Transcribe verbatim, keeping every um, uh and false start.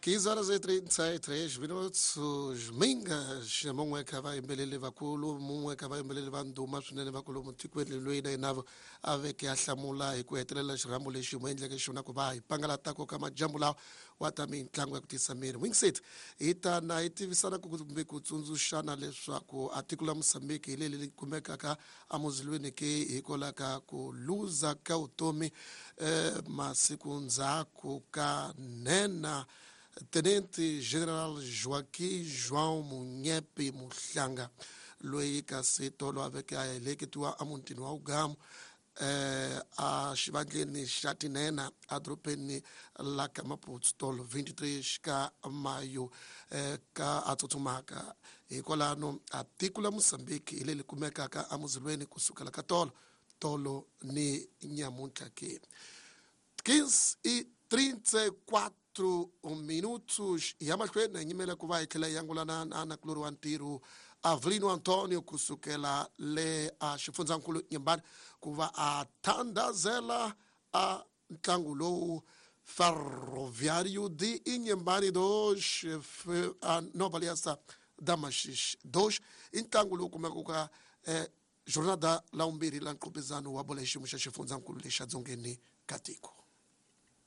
quinze horas e trinta e três minutos. Mingas, mun'we kha vayimbeleli vakulu, mun'we kha vayimbeleli va ndhuma swinene vakulu mutikweni loyi na yena a veke a hlamula hi ku hetelela xirhambo lexi mu endleke xona ku va hi pangalatako ka majambu lawa wa ta mitlangu ya ku tisa miri wingset. Hi ta na hi tivisana kumbe ku tsundzuxana leswaku a tiko la Mozambique hi leli kumekaka emuzilweni ke hikwalaho ka ku luza ka vutomi eh, masiku ndzhaku ka nhenha Tenente General Joaquim João Munyepe Muhlanga loyi kasi tolo a veke a heleketiwa emutini wa Ugamu eh, a xivandleni xa tinhenha edorobeni la ka Maputo tolo twenty-three ka Mayo eh, ka a tsutsumaka. Hikwalano a tiko la Mozambique hi leri kumekaka emuzilweni kusukela ka tolo tolo ni nyamuntlha ke. Quinze e trinta e quatro minutos ya mahlweni hi nyimela ku va hi tlhela hi angulana na nakulori wa ntirho Avelino Antonio kusukela le a xifundzankulu Nyembani ku va a thandazela a ntlangu lowu Ferroviário de Inhambane dois a Nova Aliança da Maxixe dois i ntlangu lowu kumekaka ka eh, jornada la vumbirhi la nqopezano wa bola hi xiyimo xa xifundzankulu lexa dzongeni ka tiko.